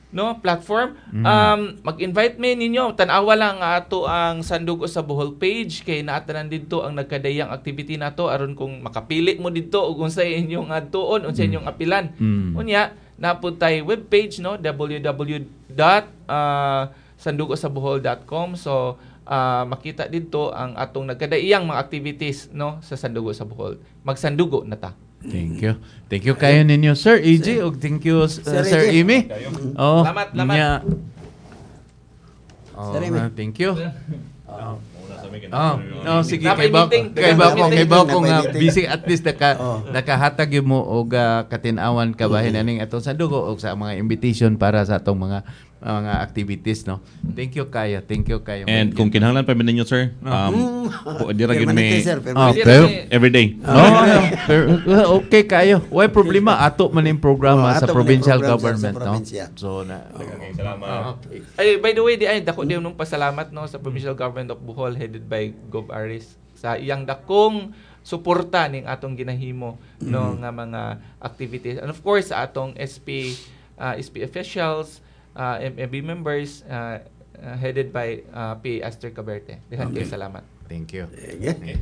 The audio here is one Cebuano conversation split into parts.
no platform. Mag-invite mi ninyo, tan-awa lang nga ato ang Sandugo sa Bohol page kay naa tanan didto ang nagkadayang activity nato aron kung makapili mo didto ug unsay inyong adtuon, unsay inyong apilan. Unya, naa pod tay webpage, no, www.sandugosabohol.com. So makita didto ang atong nagkadaiyang mga activities, no, sa Sandugo sa Bohol. Magsandugo na ta. Thank you. Thank you kayo ninyo, Sir EJ, ug thank you, Sir Sir EJ. Amy. Oh, Salamat, salamat. nya. Oh, Sir Amy. Thank you. Oh, no, sige, Napay kay ba meeting. kay ba ko kay ba ko nga Napay meeting. busy, at least naka nakahatag gyud mo og katin-awan kabahin aning atong sandugo og sa mga invitation para sa atong mga activities, no. Thank you kayo. Thank you kayo. And kung kinahanglan pa mi ninyo, sir, di ra gyud Permanente, mi sir. Ah, Permanente. pero every day. No, pero, okay kayo. Way problema, ato man yung programa Oh, sa ato man yung provincial program, sir, sa government, no. probinsya. So na Okay, salamat. Okay. Ay, by the way, di ay dako din nung pasalamat, no, sa Provincial Government of Bohol headed by Gov Aris sa iyang dakong suporta ning atong ginahimo, no, nga mga activities. And of course sa atong SP SP officials, MMB members headed by P. Esther Caberte. Daghan kayo salamat. Thank you. Sige.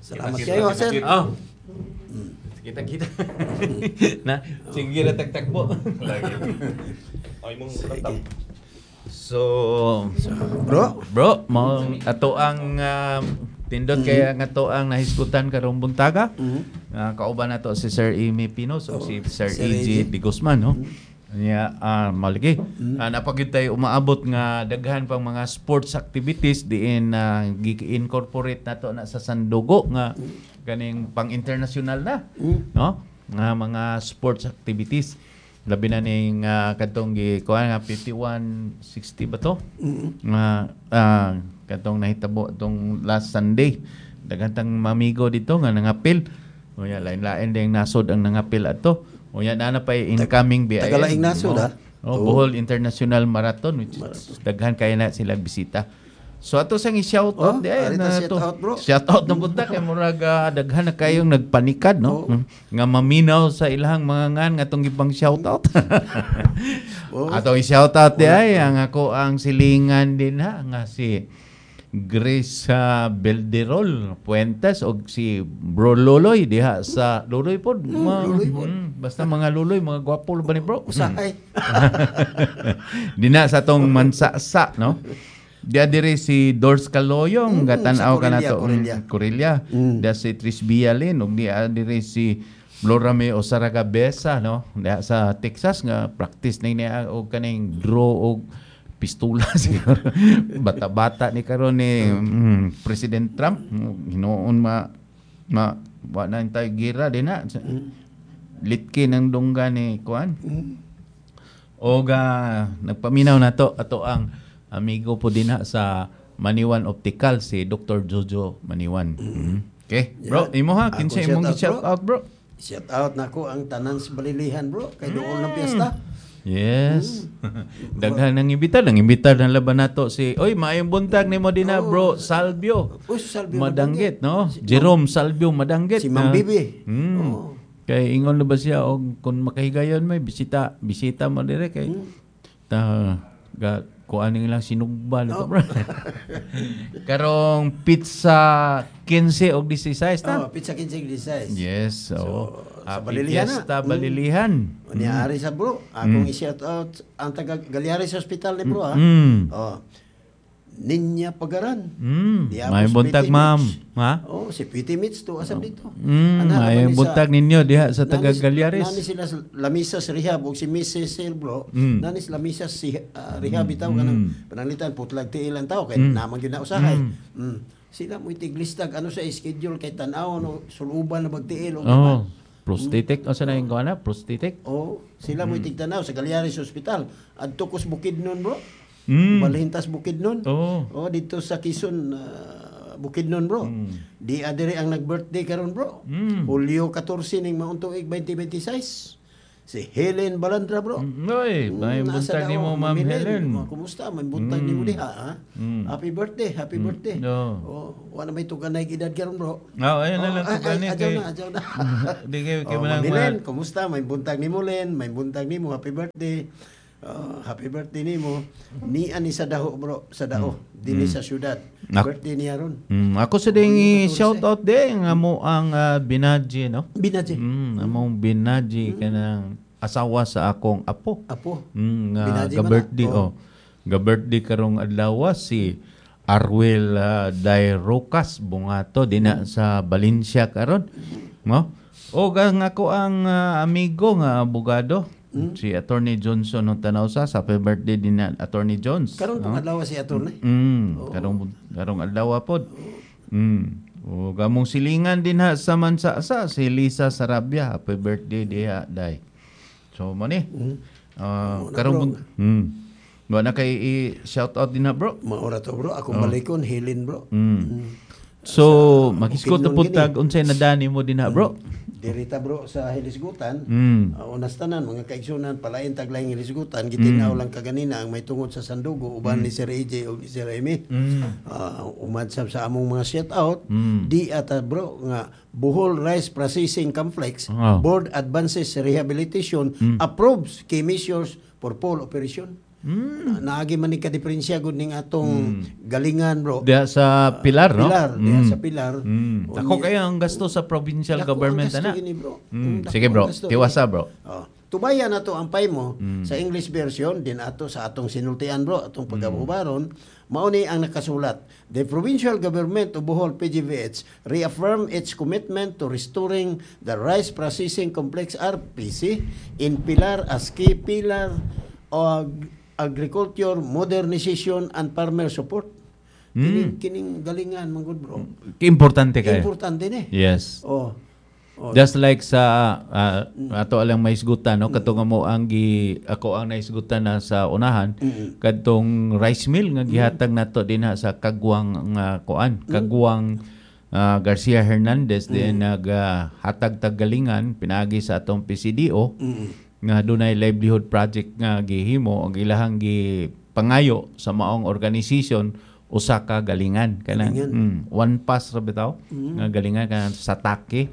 Salamat kayo, sir. Oh. Kita kita. Na, sige ra tagtagbo. Lagi. Ay mong Sige. So, Bro, bro, mao ato ang tindot kaya nga to ang nahisgutan karong buntaga. Kauban nato si Sir Amy Pinos o si Sir Sir EJ EJ. De Guzman, no? Nya maligi. Napagid tayo umaabot nga daghan pang mga sports activities diin gi-incorporate nato na sa Sandugo nga ganing pang international na, no? Nga mga sports activities. Labi na ning kadtong gi kuan nga 5160 ba to? Nga katong nahitabo tong last Sunday. Daghan tang mamigo dito nga nangapil. Unya, lain-lain ding nasod ang nangapil adto. Unya, naa na pay incoming BIM. Tagalaing nasod, No? ah. Oh, Bohol International Marathon, which is daghan kay na sila bisita. So ato sang i-shout out Oh, di ay arita na shout to. out, bro. Shout out na punta kay murag daghan na kayong nagpanikad, no? Oh. Nga maminaw sa ilahang mga ngan nga atong gipang shout out. Oh. Atong i-shout out di ay ang ako ang silingan din ha nga si Grace Belderol Puentes og si Bro Loloy diha sa Loloy pod. Loloy pod. Basta mga Loloy, mga gwapo ba ni bro? Usahay. Dina sa tong mansasa, no? Diya diri si Dors Caloyong, gatan-aw sa ka na Corillia, to. Corillia. Corillia. Diya si Tris Villalin, ug diya diri si Florame Osaraga Besa, no? Diya sa Texas nga practice na niya og kaning draw og pistula siguro. Bata-bata ni karon ni President Trump, hinuon ma ma wa na tayo gira din na. Litki ng dungga ni kuan. Og nagpaminaw na to ato ang amigo po din na sa Maniwan Optical, si Dr. Jojo Maniwan. Okay, bro, imo ha, Ako kinsa shout imong out, gi-shout bro. out, bro? Shout out nako ang tanan sa Balilihan, bro. Kay doon ng piyesta. Yes. Daghan ng imbita, nang imbita na laban nato si Oy, maayong buntag nimo din na, bro, Salvio. Uy, si Salvio Madanggit, no? Jerome Salvio Madanggit. Si Ma'am na- Bibi. Oo. Kay ingon na ba siya og kung makahigayon may bisita, bisita mo dire kay ta ga kuan lang sinugba nito, bro. Karong pizza 15 og 16 ta. Oh, pizza 15 16. Yes, so, So, sa Happy Balilihan na. Fiesta Balilihan. Ni ari sa bro, akong i-shout out ang taga Galiares Hospital ni bro ha. Oh. Ninya Pagaran. Di ako May si buntag, Piti ma'am. Mitch. Ha? Oh, si Piti Mitch to asam dito. Ana, May laban ni sa- buntag ninyo diha sa taga Galiares. Nani sila sa Lamisa sa rehab ug si Mrs. Sel bro. Nani sa Lamisa si rehab bitaw kanang pananglitan putlag tiil ang tao kay naman gyud na usahay. Sila mo tiglistag ano sa schedule kay tan-aw no suluban na bagtiil og Oh, prosthetic o sa na yung na? Prosthetic? Oh, sila mo tigtanaw sa Galiares Hospital. Adto kos Bukidnon, bro. Balhintas Bukidnon. Oh. Oh, dito sa Quezon, Bukidnon, bro. Di adere ang nag-birthday karon, bro. Hulyo 14 ning maong tuig 2026. Si Helen Balandra, bro. Oy, may Nasa buntag dao, nimo, Ma'am Helen. Mga kumusta? May buntag nimo diha, ha? Happy birthday, happy birthday. No. Oh, wala may tuganay edad karon, bro. Ah, ayun na Oh, lang ay, tugani ay, adyaw kay na, adyaw na. Di kay kay Oh, manang Ma'am Helen, kumusta? May buntag nimo, Len. May buntag nimo. Happy birthday. Oh, happy birthday nimo. Ni ani sa daho, bro, sa dao. Dinhi sa syudad. Birthday niya ron. Ako sa ding shout out din nga mo ang Binaji, no? Binaji. Among Binaji kanang asawa sa akong apo. Apo. Nga Binaji man na. ga-birthday Oh. oh. Ga-birthday karong adlaw si Arwel Dairocas Bungato dinha sa Valencia karon. No? O ang ako ang amigo nga abogado si Attorney Johnson ng Tanausa. Happy birthday din na Attorney Jones. Karon pong adlaw si attorney. Karong karong adlaw pod. O gamong silingan din ha sa Mansasa si Lisa Sarabia. Happy birthday diha dai. So mo ni. Mao na, Karong bro. Wa na kay i-shout out din ha, bro. Maura to, bro. Akong balikon, Helen, bro. So magisgot na opinion pud gini. tag unsay nadani mo din ha, bro. Dirita, bro, sa Hilisgutan. Unas tanan mga kaigsunan, palain taglayng Hilisgutan, gitinaw lang kaganina ang may tungod sa Sandugo uban ni Sir AJ o ni Sir Amy. Umadsab sa among mga shout out di ata, bro, nga Bohol Rice Processing Complex Board advances rehabilitation, approves key measures for pole operation. Naagi man ni kadiferensya gud ning atong galingan, bro. Diha sa Pilar, no? Pilar, diha sa Pilar. Ako kaya ang gasto sa provincial Dako ang government gasto ana. gini, bro. Dako Sige, ang bro. gasto Tiwasa, gini. bro. Oh. Tubaya na to ang pay mo sa English version din ato sa atong sinultian, bro, atong pagabubaron, mao ni ang nakasulat. The provincial government of Bohol, PGVH, reaffirm its commitment to restoring the rice processing complex, RPC, in Pilar as key pillar of agriculture modernization and farmer support. Kining galingan man gud, bro. Importante kayo. Importante ni. Yes. Oh. Oh. Just like sa ato alang maisgutan, no, kadto nga mo ang gi ako ang naisgutan na sa unahan kadtong rice mill nga gihatag nato dinha sa Kagwang nga kuan, Kagwang Garcia Hernandez din naghatag tag galingan pinaagi sa atong PCDO nga dunay livelihood project nga gihimo ang ilahang gipangayo sa maong organization usa ka galingan kanang one pass ra bitaw nga galingan kanang sa take.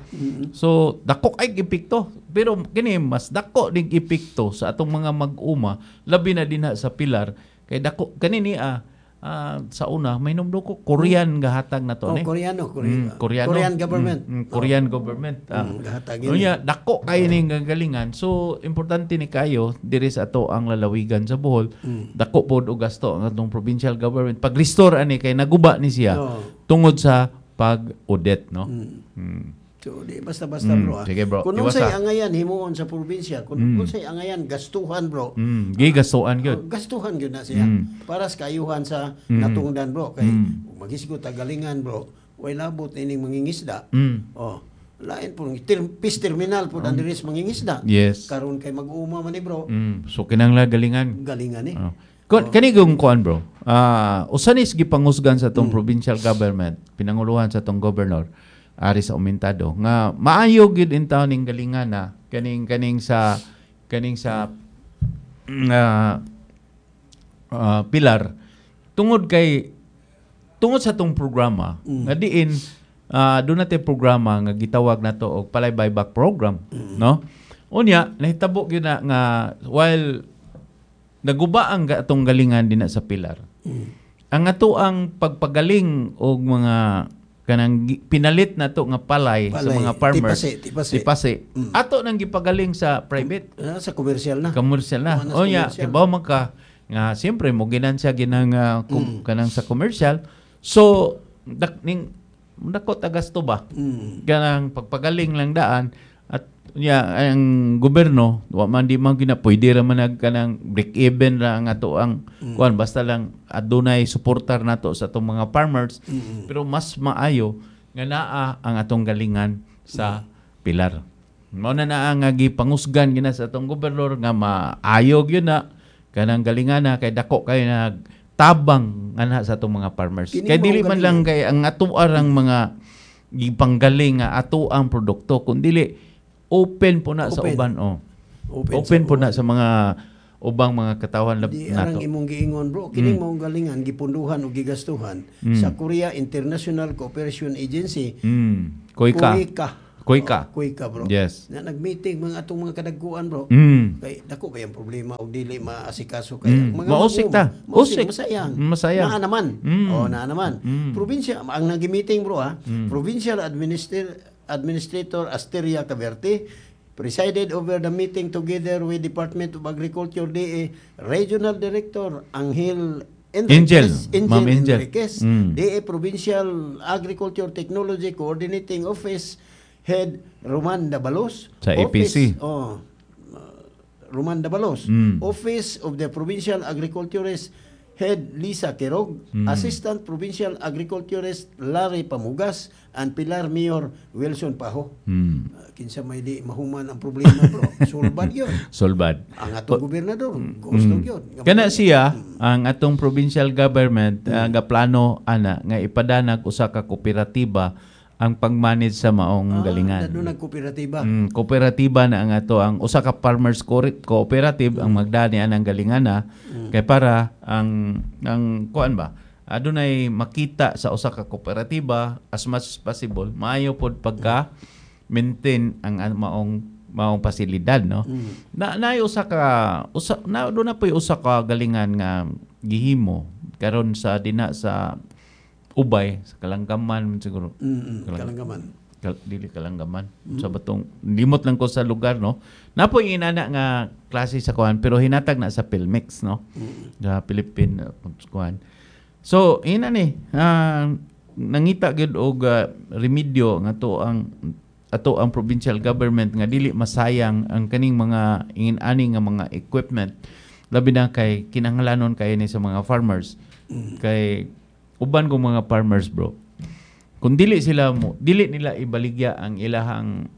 So dako kay epekto, pero kini mas dako ding epekto sa atong mga mag-uma, labi na dinha sa Pilar kay dako kani ni sa una may numdo ko Korean gahatag na to Oh, ni. Koreano, Korean, Koreano. Korean government. Korean government. Gahatag yun. Unya, dako kayo ning gagalingan. So importante ni kayo diri sa ato ang lalawigan sa Bohol. Dako pod og gasto ang atong provincial government pag-restore ani kay naguba ni siya tungod sa pag-audit, no? So, di basta-basta, bro. Ah. Sige, bro. Kung Iwasa. unsay angayan himuon sa probinsya, kung unsay angayan gastuhan, bro. Gigastuan gyud. Oh, gastuhan gyud na siya. Para sa kaayuhan sa natungdan, bro, kay kung magisgo tagalingan, bro, way labot ining mangingisda. Oh, lain po peace terminal po ang diri sa mangingisda. Yes. Karon kay mag-uuma man ni, bro. So kinahanglan galingan. Galingan ni. Oh. Kani kung kuan, bro. Usa ni gipangusgan sa tong provincial government, pinanguluhan sa tong governor Aris Aumentado nga maayo gyud in town ning galingan na kaning kaning sa Pilar tungod kay tungod sa tong programa nga diin doon natin programa nga gitawag nato og Palay Buyback Program, no? Unya nahitabo gyud na nga while naguba ang atong galingan dinha sa Pilar. Ang ato ang pagpagaling og mga kanang pinalit na to nga palay, sa Palay, mga farmers. tipase, tipase. Tipase. Ato nang gipagaling sa private. Sa commercial na. Commercial na. Kuha na sa O nya, commercial. kibaw man ka nga siyempre mo ginansya ginang kanang sa commercial. So ning dako ta gasto ba? Kanang pagpagaling lang daan at nya ang gobyerno wa man di man gina pwede ra man nag kanang break even ra ang ato ang kuan, basta lang adunay suportar nato sa atong mga farmers. Pero mas maayo nga naa ang atong galingan sa Pilar. Mao na naa nga gipangusgan gina sa atong gobernador nga maayo gyud na kanang galingan na kay dako kay nagtabang ana sa atong mga farmers. Kini Kay mao dili man lang galingan. kay ang ato arang mga gipanggaling nga ato ang produkto kun dili open po na sa Open. uban, oh. Open, Open po sa na sa mga ubang mga katawhan Di arang nato. imong giingon, bro. Kining maong galingan gipunduhan o gigastuhan sa Korea International Cooperation Agency. KOICA. KOICA. KOICA. Oh, KOICA, bro. Yes. Na nag-meeting mga atong mga kadagkuan, bro. Kay dako ba yung problema og dili maasikaso kay mga Mausik ta. Mausik, Usik. masayang. Masayang. Naa naman. Oh, naa naman. Probinsya ang nagi-meeting, bro, ha. Provincial Administrator Asteria Caverte presided over the meeting together with Department of Agriculture, DA Regional Director Angel Angel. Enriquez, Ma'am Angel. Enriquez, DA Provincial Agriculture Technology Coordinating Office Head Roman Dabalos, Sa Office, APC. Oh, Roman Dabalos, Office of the Provincial Agriculturist Head Lisa Quirog, Assistant Provincial Agriculturist Larry Pamugas, and Pilar Mayor Wilson Paho. Kinsa may di mahuman ang problema, bro. Sulbad yun. Solbad. Ang atong gobernador, gusto yun. Kana siya ang atong provincial government gaplano ana nga ipadanag usa ka kooperatiba ang pag-manage sa maong galingan. Doon nagkooperatiba. Kooperatiba na ang ato ang usa ka farmers cooperative ang magdani anang galingana kay para ang kuan ba, adunay makita sa usa ka kooperatiba as much as possible maayo pod pagka maintain ang maong maong pasilidad, no? Na naay usa ka usa na doon na po'y usa ka galingan nga gihimo karon sa dina sa Ubay, sa Kalanggaman man siguro. Kalanggaman. Dili Kalanggaman. Sa batong limot lang ko sa lugar, no. Napoy inana nga klase sa kuan pero hinatag na sa Pilmix, no. Sa Philippine kuan. So ina ni nangita gyud og remedyo nga to ang ato ang provincial government nga dili masayang ang kaning mga ingin-ani nga mga equipment, labi na kay kinahanglanon kay ni sa mga farmers. Kay uban kong mga farmers, bro, kung dili sila mo dili nila ibaligya ang ilahang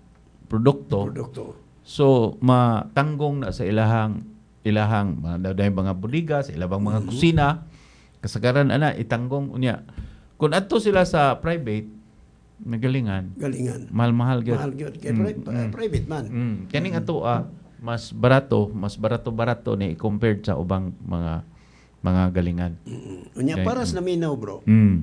produkto, Produkto. so matanggong na sa ilahang ilahang mga mga bodega, sa ilahang mga kusina, kasagaran ana itanggong unya. Kung adto sila sa private nagalingan, Galingan. mahal-mahal gyud. Mahal gyud kay private man. Kaning ato mas barato ni compared sa ubang mga galingan. Unya para sa naminaw, bro.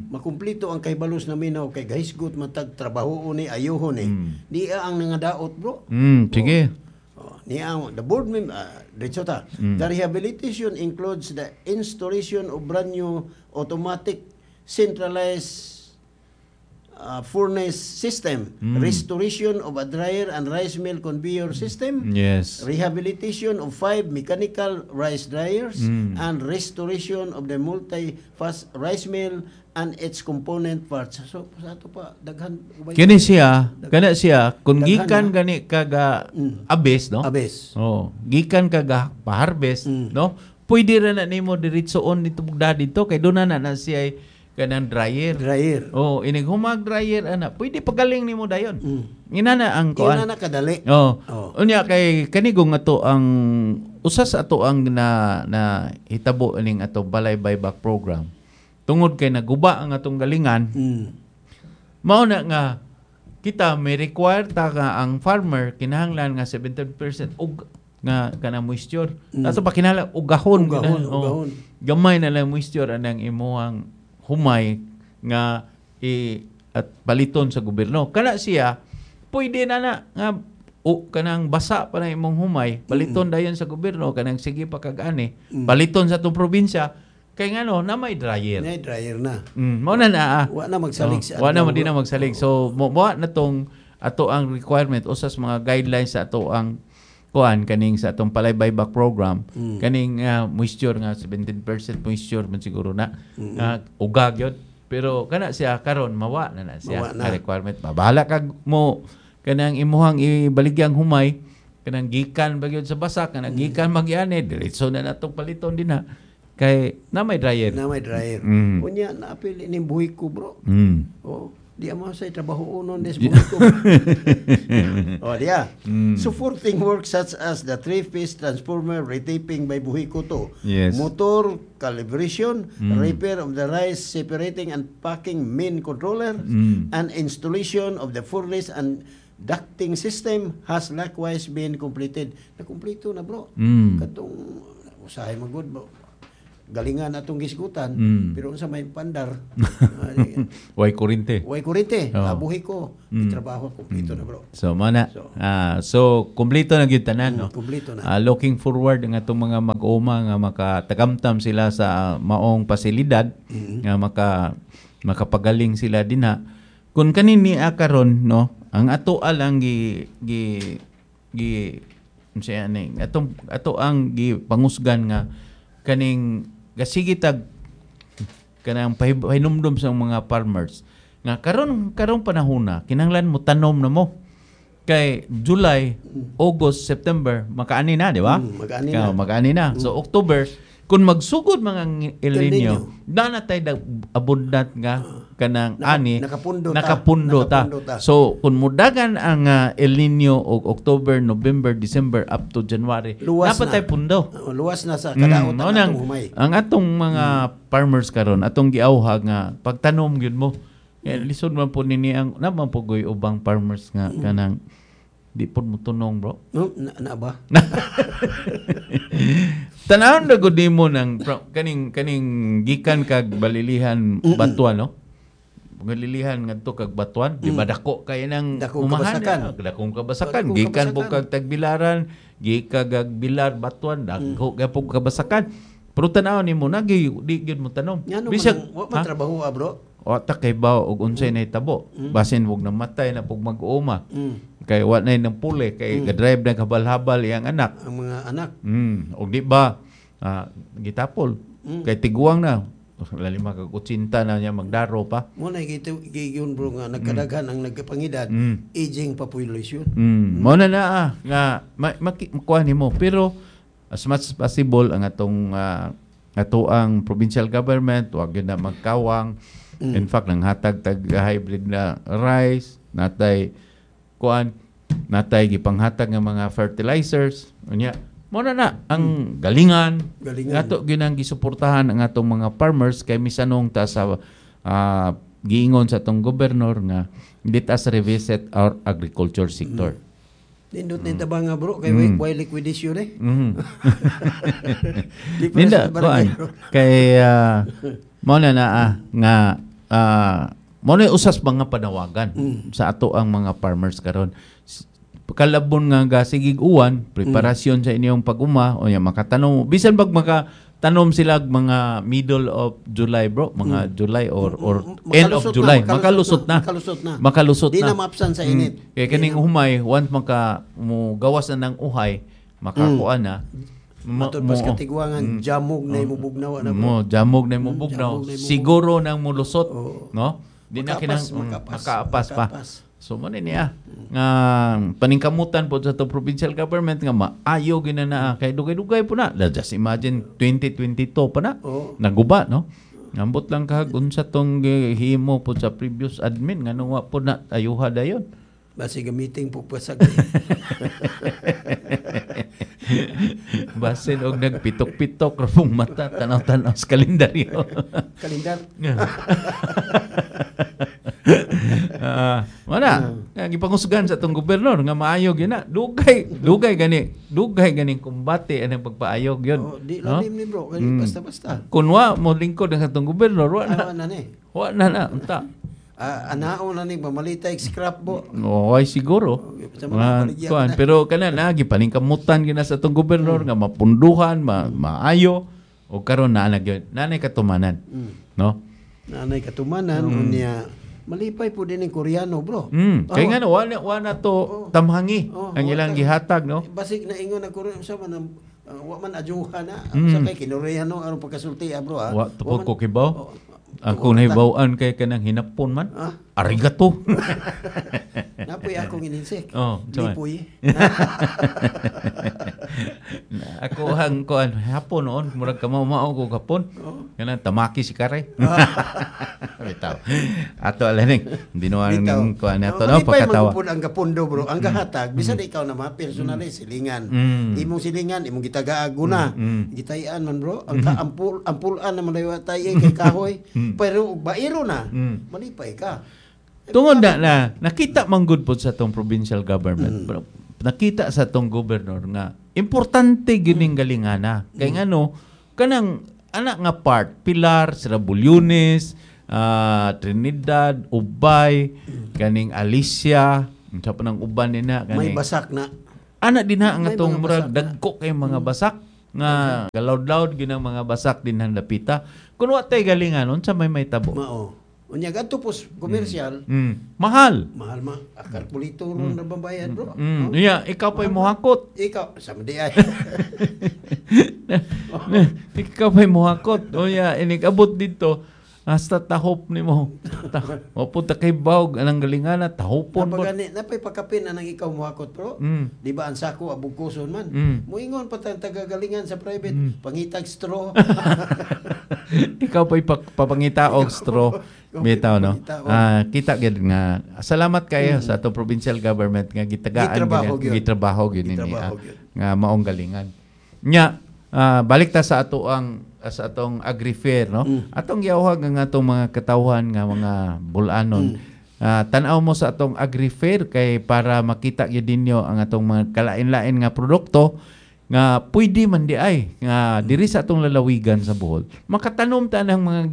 Makumplito ang kahibalos naminaw kay gahisgot matag trabaho ni ayuho ni. Niya ang nangadaot, bro. Sige. Oh, niya ang the board member diretso ta. The rehabilitation includes the installation of brand new automatic centralized furnace system, restoration of a dryer and rice mill conveyor system, rehabilitation of 5 mechanical rice dryers, and restoration of the multi-fast rice mill and its component parts. So, sa ato pa, daghan. Kini siya, kana siya kung Daghan, gikan gani kaga abes, no? Abes. Oh, gikan kaga pa-harvest, no? Pwede ra na nimo diretsoon dito bugda dito kay doon na na siya ay kanang dryer. Dryer. Oh, inig humag dryer ana, pwede pagaling nimo dayon. Ina na ang kuan. Ina na kadali. Oh. Oh. Unya kay kanigong ato ang usa sa ato ang na na hitabo ining ato Balay Buyback Program. Tungod kay naguba ang atong galingan, mao na nga kita may require ta nga ang farmer kinahanglan nga 70% og nga kana moisture. Ato pa kinahanglan ugahon, Ugahon, oh. ugahon. Gamay na lang moisture anang imuhang humay nga i at paliton sa gobyerno. Kana siya pwede na na nga o kanang basa pa na imong humay, paliton dayon sa gobyerno kanang sige pa kag-ani, paliton sa atong probinsya kay ngano na may dryer. Na dryer na. Mao na na. Wa na magsalig Oh, sa wa na adlaw, man di na bro. magsalig. So mo mo na tong ato ang requirement usa sa mga guidelines sa ato ang kuan kaning sa atong Palay Buyback Program kaning moisture nga 17% moisture man siguro na ugag yun. Pero kana siya karon mawa na na siya Mawa na. nga requirement. Bahala kag mo kanang imuhang ibaligyang humay kanang gikan ba gyud sa basa kanang gikan magyani diretso na natong paliton din ha kay na may dryer. Na may dryer. Unya naapil ining buhi ko, bro. Oh, di mo sa trabaho unon des buhi ko. Oh, diya. Supporting work such as the three-phase transformer retaping by Buhi Ko 2, motor calibration, repair of the rice separating and packing main controller, and installation of the furnace and Ducting system has likewise been completed. Nakumpleto na, bro. Katong usahay man gud, bro. Galingan atong gisgutan, pero unsa may pandar, Way kurinte. Way kurinte, Oo. abuhi ko, trabaho kumpleto na, bro. So mao na. So- So kumpleto na gyud tanan, no. Kumpleto na. Looking forward ang atong mga mag-uma nga makatagamtam sila sa maong pasilidad nga makapagaling sila dinha. Kung kanini karon, no, ang ato lang gi gi gi unsa ani atong ato ang gi pangusgan nga kaning gasige tag kanang pahinumdum sa mga farmers nga karon karong panahona kinahanglan mo tanom na mo kay July, August, September makaani na, di ba? Mag-ani Ka- na. Mag-ani na. So October kung magsugod mga El El Nino, Nino. na natay abundant nga kanang ani, nakapundo ta. nakapundo ta. Nakapundo ta. So kung mudagan ang El Nino og October, November, December up to January, Luwas dapat na. tay pundo. Oh, luwas na sa kadaot ang Mao nang- atong humay. Ang atong mga farmers karon, atong giawhag nga pagtanom gyud mo. Kaya lisod man po nini ang naman po goy ubang farmers nga kanang di pod mo tunong, bro. No, na ba? Tanawon na gud nimo ng kaning kaning gikan kag Balilihan Batuan, no? Balilihan ngadto kag Batuan, di ba dako kay nang Dakong umahan, kabasakan. Dakong kabasakan. Dakong Gikan po kabasakan. kag Tagbilaran, gikan kag Bilar Batuan, dako gyapon kabasakan. Pero tan-awon nimo na di gyud mo tanom. Ngano man Bisag wa man ha? trabaho, bro. O ta kay ba og unsay nahitabo. Basin wog namatay na pug mag-uuma. Kay wa na nang puli kay ga-drive na habal-habal iyang anak. Ang mga anak. Og di ba gitapol. Kay tiguang na lalima kag 80 na niya magdaro pa. Mo na giyon, bro, nga nagkadaghan ang nagkapangidad, aging population. Mao na na nga makuha nimo pero as much as possible ang atong ato ang provincial government wag gyud na magkawang. In fact, nanghatag tag hybrid na rice, natay kuan, natay gipanghatag nga mga fertilizers. Unya, mao na na ang galingan. Galingan. Ato gyud ang gisuportahan ang atong mga farmers kay misanong ta sa giingon sa atong gobernador nga let us revisit our agriculture sector. Nindot ni tabang nga, bro, kay way liquidation eh. Di pa Ninda, sa barangay, kuan. bro. Kay mao na na nga mao na usas mga panawagan sa ato ang mga farmers karon. Kalabon nga gasigig uwan, preparasyon sa inyong pag-uma o makatanom. Bisan pag makatanom sila og mga middle of July, bro, mga July or end of Makalusot na, July, makalusot na. Makalusot na. Makalusot Di na. na maapsan sa init. Kay kaning humay, once maka mo gawas na ng uhay, makakuan na. Matod pas katigwangan, jamog na imubugnaw na, bro. Mo jamog na imong bugnaw. Jamog na imong Siguro nang mulusot, no? Di na Makaapas, kinang makaapas, makaapas pa. makaapas. So mo ni niya nga paningkamutan po sa to provincial government nga maayo gina na kay dugay-dugay po na. Just imagine 2022 pa na. Oo. Naguba, no? Ambot lang kag unsa tong gihimo po sa previous admin nga wa po na ayuha dayon. Basi gamiting pugpasag. Basin og nagpitok-pitok ra pong mata tanaw-tanaw sa kalendaryo. Kalendar. Wala. Nga gipangusgan sa atong gobernador nga maayo gyud na. Dugay, dugay gani, dugay gani kumbate anang pagpaayog yun. Oh, di No? lalim ni, bro, kay basta-basta. Kun wa mo lingkod ang atong gobernador, wa na. Awa na ni. Wa na na unta. Anao na ni mamalitay scrap bo. Oh, ay siguro. Sa mga baligya Kuan, na. pero kana na gipaningkamutan gyud na sa atong gobernador nga mapunduhan, maayo o karon naa na gyud. Nanay katumanan. No? Nanay katumanan unya malipay po din ang Koreano, bro. Kay nga no, wa na to tamhangi Oh, ang wa ilang ta. gihatag, no? Basig na ingon ang Koreano sa man wa man ajuha na sa kay kinoreano aron pagkasulti, bro, ha. Wa to po man- ko kibaw. Oh, Ako nahibaw-an kay kanang hinapon man. Ah? Arigato. Napoy akong ininsek. Oh, unsa man? Lipoy. Ako ang kuan hapon noon murag kamao-mao ko hapon. Kanang tamaki si Karay. Bitaw. Ato alaning dinuan Bitaw. ning kuan ato Oh, no malipay pagkatawa. man pud ang gapundo, bro. Ang gahatag bisan ikaw na ma personally silingan. Imong silingan, imong gitagaag guna. Gitayan man, bro. Ang kaampul ampulan na malayo tay kay kahoy. Pero og bairo na, malipay ka. Tungod na nakita man gud pod sa atong provincial government. Nakita sa atong governor nga importante gining galingana. Kay ngano kanang anak nga part Pilar, Sira Bulyones, Trinidad, Ubay, kaning Alicia, unsa pa nang uban nina May kaning basak na. Ana din ha ang May atong mga murag basak na. dagko kay mga basak nga galaud-laud ginang mga basak din ang dapita. Kun wa tay galingan unsa may tabo. Mao. Unya kadto pos komersyal, Mahal. mahal ma kalkulito ron na babayad, bro. Yeah, ikaw pa'y muhakot. Ikaw sa di ay. Ikaw pa'y muhakot. O ya, inig-abot dito, hasta tahop nimo. Mapunta kay bawg anang galingana tahopon ba. Napagani, napay pakapin anang ikaw muhakot, bro. Di ba ang sako abugkuson man. Muingon pa tang tagagalingan sa private, pangitag straw. Ikaw pa'y papangita og straw. Bitaw, no? Kita gyud nga. Salamat kayo sa atong provincial government nga gitagaan Gitrabaho gyud. Gitrabaho gyud ni Gitrabaho gyud. Nga maong galingan. Nya, balik ta sa ato ang sa atong agri-fair, no? Atong giawhag ang atong mga katawhan nga mga bulanon. Tan-aw mo sa atong agri-fair kay para makita gyud ninyo ang atong mga kalain-lain nga produkto nga pwede man di ay nga diri sa atong lalawigan sa Bohol. Makatanom ta ng mga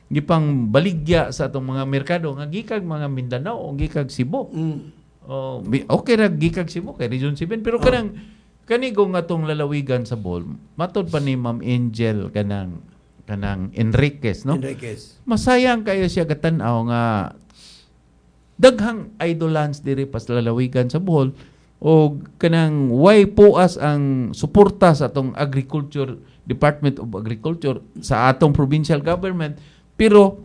gipang baligya sa atong mga merkado nga gikag mga Mindanao o gikag Cebu. Oh, okay ra gikag Cebu kay Region 7 pero kanang kanigong atong lalawigan sa Bohol, matod pa ni Ma'am Angel kanang Enriquez, no? Enriquez. Masayang kayo siya gatan-aw nga daghang idolans diri pas lalawigan sa Bohol o kanang way puas ang suporta sa atong Agriculture Department of Agriculture sa atong provincial government pero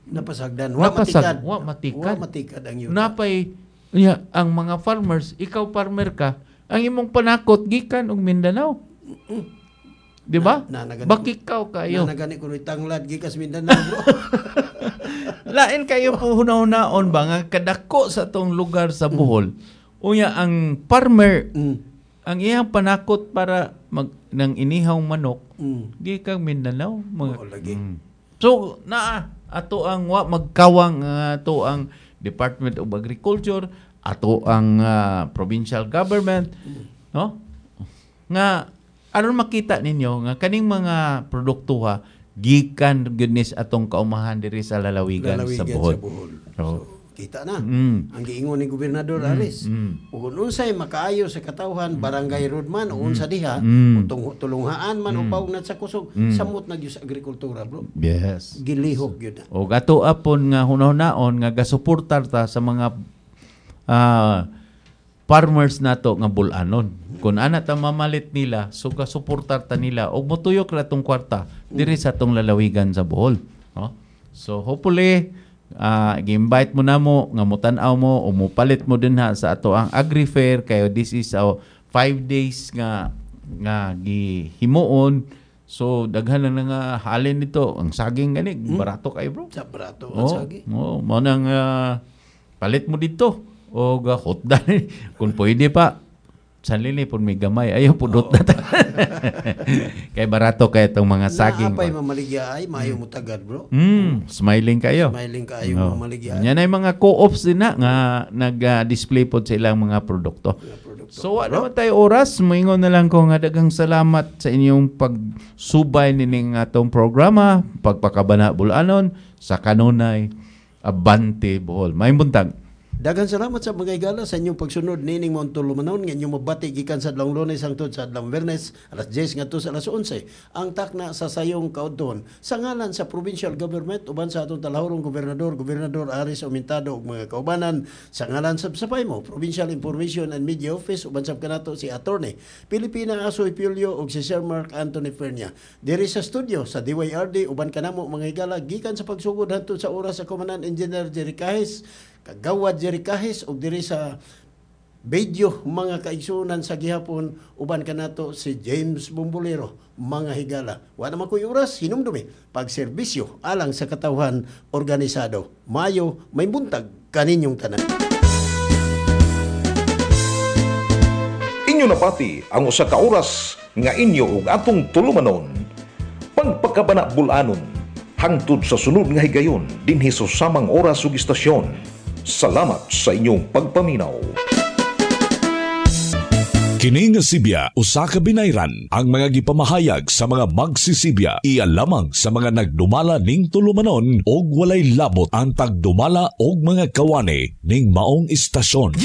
Napasagdan. Wa matikad. Wa matikad. Wa matikad ang yuta. Napay niya ang mga farmers, ikaw farmer ka, ang imong panakot gikan og Mindanao. Di ba? Bakikaw kayo. Nanagani kuno'y tanglad gikas Mindanao, bro. Lain kayo po hunahunaon ba nga kadako sa atong lugar sa Bohol. Unya ang farmer ang iyang panakot para mag nang inihawng manok gikan Mindanao mga. Oo, lagi. So naa ato ang wa magkawang ato ang Department of Agriculture, ato ang provincial government, no? Nga aron makita ninyo nga kaning mga produkto ha gikan goodness atong kaumahan diri sa lalawigan sa Bohol. Sa Bohol. So, kita na. Ang giingon ni Gobernador Aris. Ug unsay makaayo sa katawhan barangay road man o unsa diha, tulunghaan man o paungnat sa kusog, samot na gyud sa agrikultura, bro. Yes. Gilihok gyud na. O ato apon nga hunahunaon nga gasuportar ta sa mga farmers nato nga bulanon. Kung ana ta mamalit nila, so gasuportar ta nila og motuyok ra tong kwarta diri sa atong lalawigan sa Bohol, no? So hopefully gi-invite mo na mo nga motan-aw mo o mopalit mo din ha sa ato ang Agri-Fair kayo. This is our 5 days nga gihimuon. So daghan lang nga halin nito ang saging gani barato kayo, bro. Sa barato ang saging. Oh, mo nang palit mo dito o hotda kung pwede pa. Sanlili pud may gamay ayaw pudot na ta. Kay barato kay itong mga saging. Naapay mamaligya ay maayo mo tagad, bro. Smiling kayo. Smiling kayo mamaligya. Yan ay mga co-ops din na nga nag-display pod sa ilang mga produkto. So wa naman tayo oras, moingon na lang ko nga daghang salamat sa inyong pagsubay nining atong programa, Pagpakabana Bulanon sa kanunay Abante Bohol. Maayong buntag. Daghang salamat sa mga higala sa inyong pagsunod nining maong tulumanon nga inyong mabati gikan sa adlawng Lunes hangtod sa adlawng Biyernes alas 10 ngadto sa alas 11. Ang takna sa sayong kaudton sa ngalan sa provincial government uban sa atong talahurong gobernador, Gobernador Aris Aumentado ug mga kaubanan, sa ngalan sa SAPAIMO, Provincial Information and Media Office uban sab kanato si Attorney Pilipina Asoy Pilio ug si Sir Mark Anthony Fernia. Diri sa studio sa DYRD uban kanamo mga higala gikan sa pagsugod hangtod sa oras sa Commandant Engineer Jerry Cajes, Kagawad Jerry Cajes ug diri sa video mga kaigsunan sa gihapon uban kanato si James Bumbolero mga higala. Wa naman ko'y oras, hinumdumi pagserbisyo alang sa katawhan organisado. Mayo may buntag kaninyong tanan. Inyo napati ang usa ka oras nga inyo ug atong tulumanon. Pagpakabana Bulanon, Hangtod sa sunod nga higayon dinhi sa samang oras ug istasyon. Salamat sa inyong pagpaminaw. Kini nga sibya usa ka binayran. Ang mga gipamahayag sa mga magsisibya iya lamang sa mga nagdumala ning tulumanon og walay labot ang tagdumala og mga kawani ning maong istasyon.